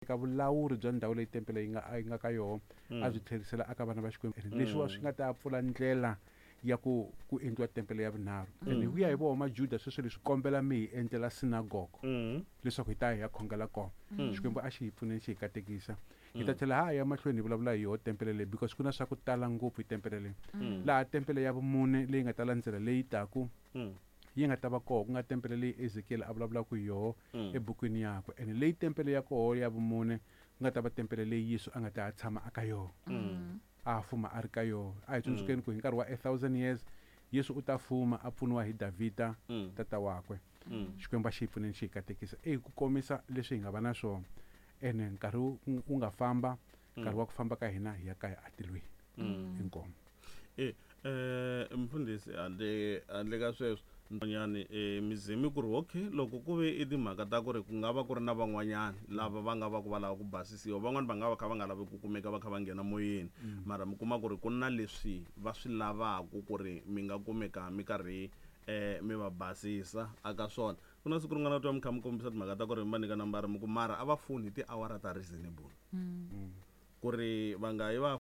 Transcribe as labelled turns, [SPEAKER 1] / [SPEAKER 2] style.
[SPEAKER 1] Ka vulawuri bya ndhawu leyi tempele yi nga ka yoho, a byi tlherisela aka vana va Xikwembu. And leswiwa swi nga ta pfula ndlela ya ku endliwa tempele ya vunharhu. And hi ku ya hi voho Majuda, sweswo leswi kombela mi hi endlela sinagogo leswaku hi ta hi ya khongela kona. Xikwembu a xi hi pfuneni, xi hi katekisa. Hi ta tlhela ha ya mahlweni hi vulavula hi yoho tempele leyi, because ku na swa ku tala ngopfu hi tempele leyi. Laha tempele ya vumune leyi nga ta landzela, leyi taku, yi nga ta va koho, ku nga tempele leyi Ezekiel a vulavulaka hi yoho ebukwini yakwe. And leyi tempele ya koho ya vumune ku nga ta va tempele leyi Yesu a nga ta tshama aka yoho, a fuma a ri ka yoho. A hi tsundzukeni ku hi nkarhi wa 1,000 years Yesu u ta fuma a pfuniwa hi Davhida, tata wakwe. Xikwembu a xi hi pfuneni, xi hi katekisa. I ku komisa leswi hi nga va na swona, ene nkarhi wu nga famba, nkarhi wa ku famba ka hina hi ya kaya atilweni. Inkomu.
[SPEAKER 2] Mfundhisi, handle ka sweswo nyani, mizemi ku ri okay, loko ku ve i timhaka ta ku ri ku nga va ku ri na van'wanyana lava va nga va ku va lava ku basisiwa, van'wani va nga va kha va nga lavi ku kumeka va kha va nghena moyeni, mara mi kuma ku ri ku na leswi va swi lavaka ku ri mi nga kumeka mi karhi mi va basisa aka swona. Ku na siku rin'wana twa mi kha mi kombisa timhaka ta ku ri mi va nyika nambara, mi ku mara a va foni hi tiawara ta reasonable, ku ri va nga yi va.